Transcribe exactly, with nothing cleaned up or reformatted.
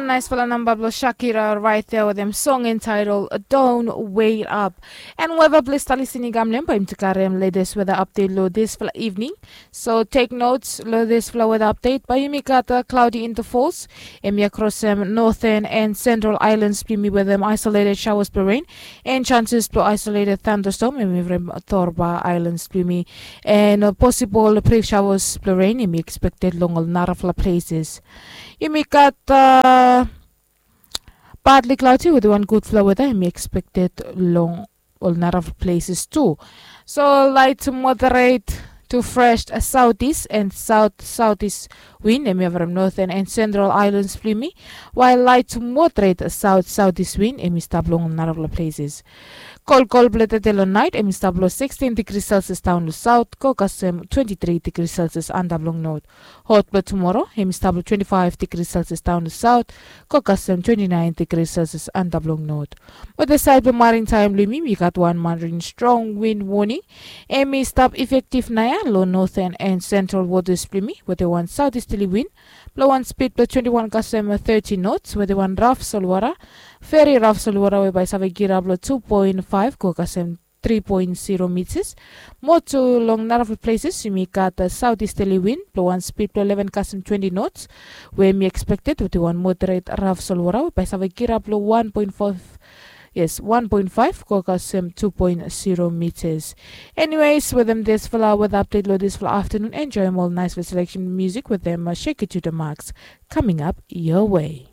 Naisfala namba blong Shakira right there with them song entitled Don't Wait Up. And weather blong Talisini Gamlem by Imtikarim latest weather update lo this fala evening. So take notes lo this fala weather update by Imikata cloudy intervals. Emi across them northern and central islands blong Imi with them isolated showers blong rain and chances blong isolated thunderstorm. Emi from Torba islands blong Imi and uh, possible brief showers blong rain emi expected long ol narafala places. Imi gat uh, partly cloudy with one good flow weather emi expected long ol narafala places too. So light to moderate to fresh southeast and south southeast wind emi from northern and central islands blong Imi, while light to moderate south southeast wind emi stap long narafala places. Kolkol blong tete long nait emi stap long sixteen degrees Celsius daon long south go kasem twenty-three degrees Celsius antap long north. Hot blong tumoro emi stap long twenty-five degrees Celsius daon long south go kasem twenty-nine degrees Celsius antap long north. Wetem saed blong marin taem blong Imi, Imi gat wan marin strong wind warning emi stap effective naoia long northern and central waters blong Imi wetem wan southeasterly wind blong wan speed blong twenty-one kasem thirty knots wetem wan raf solwota, very raf solwota we bae save girap long two point five go kasem three point zero meters. Mo tu long narafala places Imi gat southeasterly wind blong wan speed blong eleven kasem twenty knots we emi expected wetem wan moderate raf solwota we bae save girap long one point five, yes, one point five go kasem two point zero meters. Anyways, wetem this fala weather update lo this fala afternoon, enjoy more nice selection music with them uh, Shake It to the Max coming up your way.